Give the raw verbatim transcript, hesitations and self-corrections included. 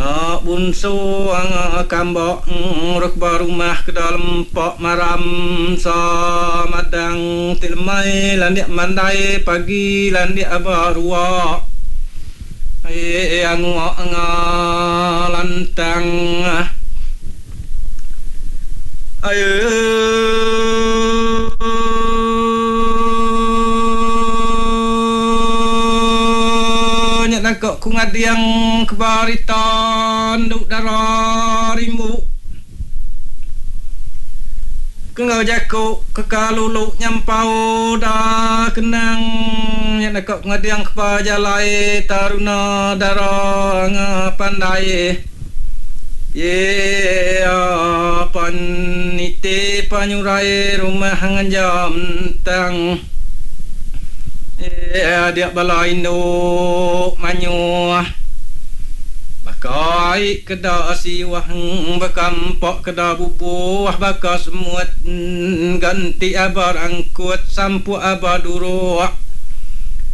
Nya bunsu kambok ruk ba rumah ke dalam pok maram samadang ti lemai landik mandai pagi landik aba ruak ai angu lantang ayo nangkok ku ngadiang kebaritan duk darah rimbu kengau jaku kekalulu nyampau da kenang nya nakok ngadiang kebajalai taruna darah ngapandai ye panite panyurai rumah nganjam tang eh dia bala induk manyuh bakai keda siwah bekampok keda bubuh baka semut ganti abar angkut sampuk abar duruk